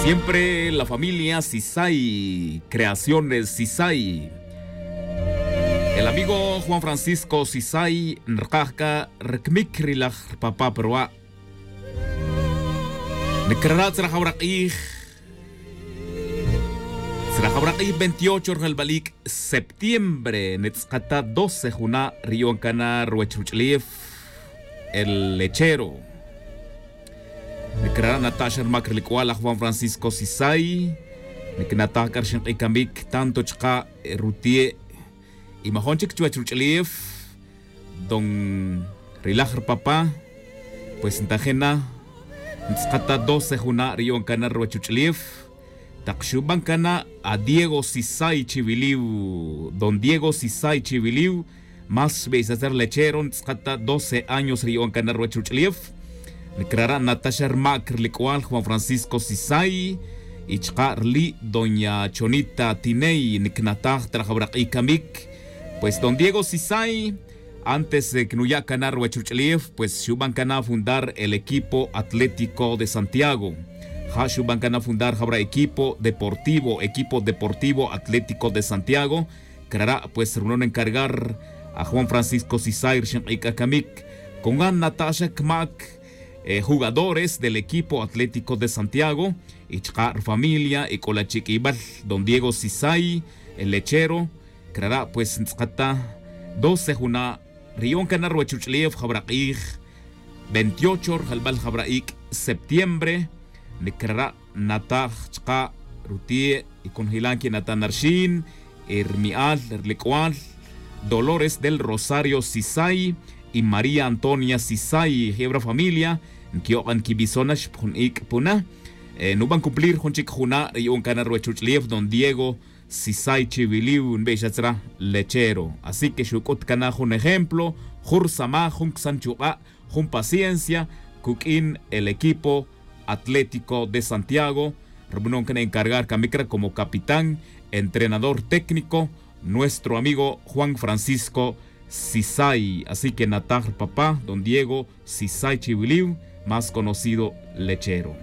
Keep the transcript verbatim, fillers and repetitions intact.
Siempre la familia Sisay, Creaciones Sisay. El amigo Juan Francisco Sisay nrkaj c'a rcmic ri laj rpapá pa ruwa'. Ncrara' tzra jawra q'ij, tzra jawra q'ij veintiocho rjalbal ic' septiembre, ntz'akata doce juna' ri yu'an cana ruwech ruch'ulef, el lechero. Ncrara' nata' xa rmac ri le c'ual aj Juan Francisco Sisay. Ncnataj c'a rxink'i camic tanto chka' ruti'e' y majon chic chuwech ruch'ulef, don ri laj rpapá. Pues ntajin na, ntz'akata doce juna' ri yu'an cana ruwech ruch'ulef. Tak xuban cana a Diego Sisay Chiwiliw, don Diego Sisay Chiwiliw, más xbeysatzar lechero, ntz'akata doce años ri yu'an cana ruwech ruch'ulef. Ncrara' nata' xa rmac ri le c'ual Juan Francisco Sisay y chka' rli' doña Chonita Tiney. Ncnataj ta rajawra q'ij camic. Pues don Diego Sisay, antes de que nuya' cana ruwech ruch'ulef, pues xuban cana fundar el equipo Atlético de Santiago. Ja' xuban cana fundar jawra equipo deportivo, equipo deportivo Atlético de Santiago. Crara' pues rubanon encargar a Juan Francisco Sisay rxink'i c'a camic. Con gan nata' xa cmac jugadores del equipo Atlético de Santiago y chka' rfamilia y c'o la chic ibal don Diego Sisay, el lechero. Crara' pues ntz'akata doce juna' ri yu'an cana ruwech ruch'ulef jawra q'ij veintiocho rjalbal jawra ic' septiembre. Ncrara' nnataj chka' ruti'e' y conojilan que'nata' na rxin, y rmi'al ri le c'ual Dolores del Rosario Sisay y María Antonia Sisay, jebra familia nquiyok'an quibison na xpjun ic' puna. Nuban cumplir jun chic juna' ri yu'an cana ruwech ruch'ulef don Diego Sisay Chiwiliw, nbeysatzra lechero. Así que xuc'ut cana jun ejemplo, jun rsamaj, jun csan chuk'a', jun paciencia cuq'uin el equipo Atlético de Santiago. Rubanon cana encargar camicra como capitán, entrenador técnico, nuestro amigo Juan Francisco Sisay. Así que nataj rpapá don Diego Sisay Chiwiliw, más conocido lechero.